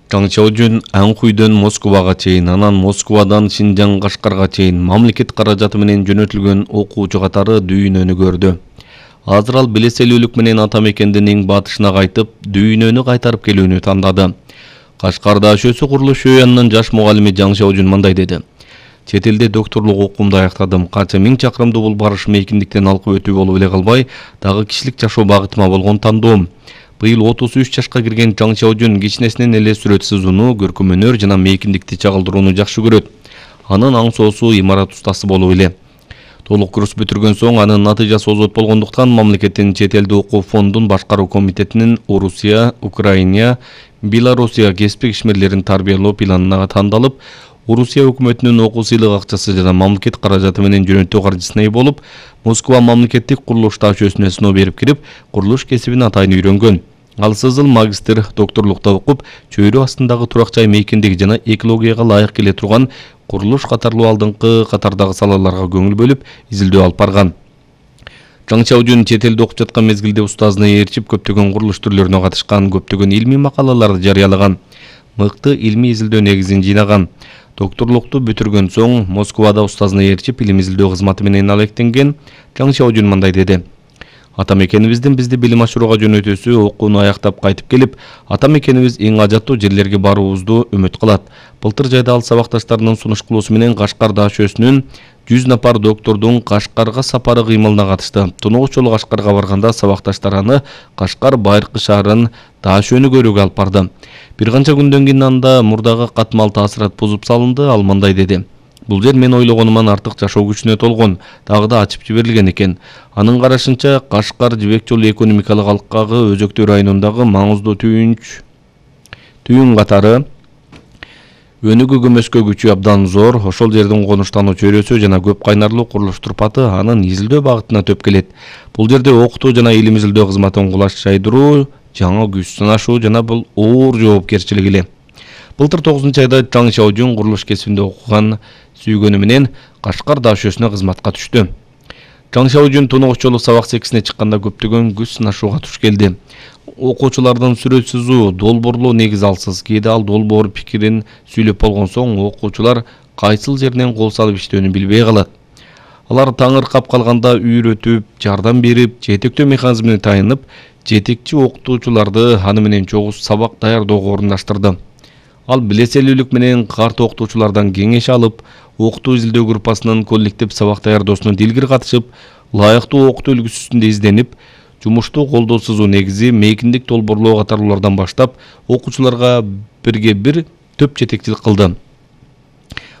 Чаң Чаожун Анхуйдон Москвага чейин, анан Москвадан Шинжаң Кашкарга чейин мамлекет каражаты менен жөнөтүлгөн окуучу катары дүйнөнү көрдү. Азыр ал белеселүүлүк менен ата мекендин эң батышына кайтып, дүйнөнү кайтарып келүүнү тандады. Кашкарда АШөсү курулуш янынан жаш мугалими Чаң Чаожун мындай деди. Чет элде докторлук окуумду аяктадым. Канча миң чакырымды бул барыш мейкиндиктен алкып өтүү болуп эле калбай, дагы кишилик жашоо багытыма болгон тандоом. Быйыл 33 жашка кирген Чаң Чаожун кичинесинен эле сүрөт сызууну, көркөм өнөр жана мейкиндикти чагылдырууну жакшы көрөт. Анын аң соосу имарат устасы болуп эле. Толук курс бүтүргөн соң анын натыйжасы озот болгондуктан мамлекеттин чет элде окуу фондун башкаруу комитетинин Орусия, Украина, Белоруссия кеспик ишмерлерин тарбиялоо планына тандалып, Орусия өкмөтүнүн окуу сыйлык акчасы жана мамлекет каражаты менен жөнөтүү каржысына ээ болуп, Москва мамлекеттик курулуш АШөсүнө сыноо берип кирип, курулуш кесибин атайын үйрөнгөн. Ал сызыл магистр докторлукта окуп, чөйрө астындагы турак жай мейкиндиги жана экологияга ылайык келе турган курулуш катарлуу алдыңкы катардагы салаларга көңүл бөлүп, изилдөө алып барган. Чаң Чаожун чет элде окуп жаткан мезгилде устазына ээрчип көптөгөн курулуш түрлөрүнө катышкан, көптөгөн илмий макалаларды жарыялаган, мыкты илмий изилдөө негизин жыйнаган. Докторлукту бүтүргөн соң Москвада устазына ээрчип илим изилдөө кызматы менен алектенген. Чаң Чаожун мындай деди. Ата мекенибиздин бизди билим ашырууга жөнөтүүсү окууну аяктап кайтып келип, ата мекенибиз эң ажаттуу жерлерге баруубузду үмүт кылат. Былтыр жайда ал сабакташтарынын сунуш кылуусу менен Кашкарда АШөсүнүн 100 напар доктордун Кашкарга сапары кыймылына катышты. Тунугуч жолу Кашкарга барганда сабакташтар аны Кашкар байыркы шаарын АШөөнү көрүүгө алып барды. Бир канча күндөн кийин анда мурдагы катмал таасират бузуп салынды. Ал мындай деди. Бул жер мен ойлогонуман артык жашоо күчүнө толгон, дагы да ачып жиберилген экен. Анын карашынча Кашкар жибек жолу экономикалык алкагы өзөктүү районундагы маңыздуу түйүн катары өнүгүү көмөскө күчү абдан зор. Ошол жердин конуштануу чөйрөсү жана көп кайнарлуу курулуш турпаты анын изилдөө багытына төп келет. Бул жерде окутуу жана илим изилдөө кызматын кулаш жайдыруу, жаңы күч сынашуу жана бул оор жоопкерчилик эле. Былтыр 9-айда Чаң Чаожун курулуш кесибинде окуган сүйгөнү менен Кашкар АШөсүнө кызматка түштү. Чаң Чаожун тунугуч жолу сабак секисине чыкканда көптөгөн күч сынашууга туш келди. Окуучулардын сүрөт сызуу, долбоорлоо негиз алсыз, кээде ал долбоор пикирин сүйлөп болгон соң окуучулар кайсыл жеринен кол салып иштөөнү билбей калат. Алар таңыркап калганда үйрөтүп, жардам берип, жетектөө механизмине таянып, жетекчи окутуучуларды аны менен чогуу сабак даярдоого орундаштырды. Ал билеселүүлүк менен карт окутуучулардан кеңеш алып, окутуу изилдөө группасынын коллектив сабак даярдоосуна дилгир катышып, ылайыктуу окутуу үлгүсүндө изденип, жумушту колдоо сызуу негизи, мейкиндик долбоорлоо катарлуулардан баштап, окуучуларга бирге бир төп жетекчилик кылды.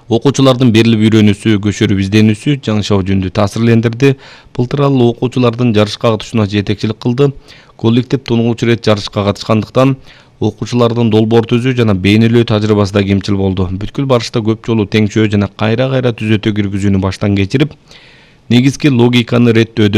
Окуучулардын берилип үйрөнүүсү, көчөрүп изденүүсү Чаң Чаожунду таасирлендирди. Былтыр ал окуучулардын жарышка катышууна жетекчилик кылды. Коллектив тунугуч ирет жарышка катышкандыктан окуучулардын долбоор түзүү жана бейнелөө тажрыйбасы да кемчил болду. Бүткүл барышта көп жолу теңчөө жана кайра-кайра түзөтө киргизүүнү баштан кечирип, негизги логиканы реттөөдө